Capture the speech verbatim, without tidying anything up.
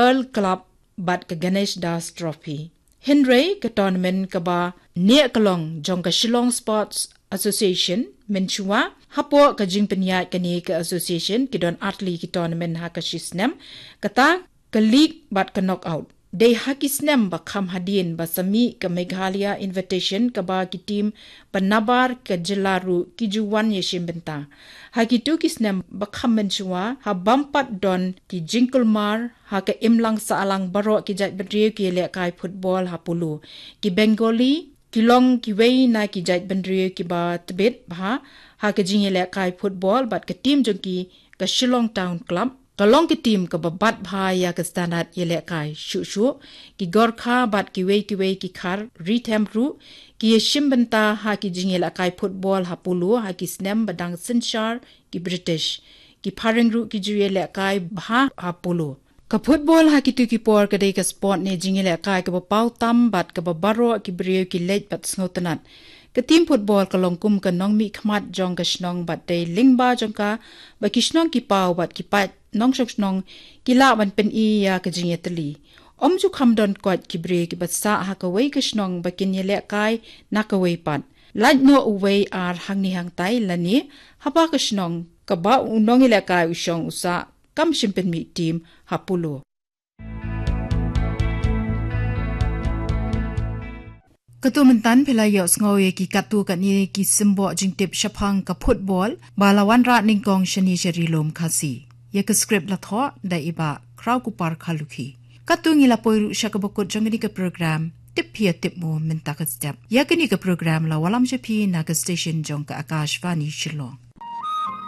Earl Club bad ka Ganesh Das Trophy. Hynrei ka tournament kaba neh ka long jong ka Shillong Sports Association mynshuwa hapoh ka jingpynïaid kane ka association ki don artylli ki tournament ha ka shisnem, kata ka league bad ka knockout. Dei ha ki snem ba kham hadien ba sa mih ka Meghalaya Invitation kaba ki team ba nabar ka jylla ruh ki ju wan ïashim bynta. Ha kitu ki snem ba kham mynshuwa ha bym pat don ki jingkulmar ha ka imlang sahlang baroh ki jaitbynriew ki ïalehkai football ha Polo. Ki Bengali ki long kiwei na ki jaitbynriew kiba tbit bha ha ka jingïalehkai football bad ka team jong ki ka Shillong Town Club ka long ka team kaba bat bha ïa ka standard ïalehkai shuh shuh. Ki Gorkha bad kiwei kiwei ki Khar Ri Them ruh ki ïashim bynta ha ki jingïalehkai football ha Polo ha ki snem ba dang synshar ki British. Ki Phareng ruh ki ju ïalehkai bha ha Polo. Ka football ha kitu ki por ka dei ka sport ne jingïalehkai kaba paw tam bad kaba baroh ki briew ki leit bad sngewtynnat. Ka team football ka long kum ka nongmihkhmat jong ka shnong bad dei lyngba jong ka ba ki shnong ki paw bad ki paid nongshong shnong ki lah ban pyni ïa ka jingïatylli. Ym ju kham don koit ki briew kiba sah ha kawei ka shnong ba kin ïalehkai na kawei pat. Lait noh uwei ar hangne hangtai lane haba ka shnong kaba u nongïalehkai u shong u sah kam shym pynmih team ha Polo. Katto mynta phi la ïohsngew ïa ki katto katne ki symboh jingtip shaphang ka football ba la wanrah nyngkong shane sha Ri Lum Khasi. Ïa ka script la thoh da i Bah Khraw Kupar Kharlukhi. Katto ngi la poi ruh sha kaba kut jong kane ka program Tip Phi Tip Mo mynta ka step. Ïa kane ka program la wallam sha phi na ka station jong ka Akashvani Shillong.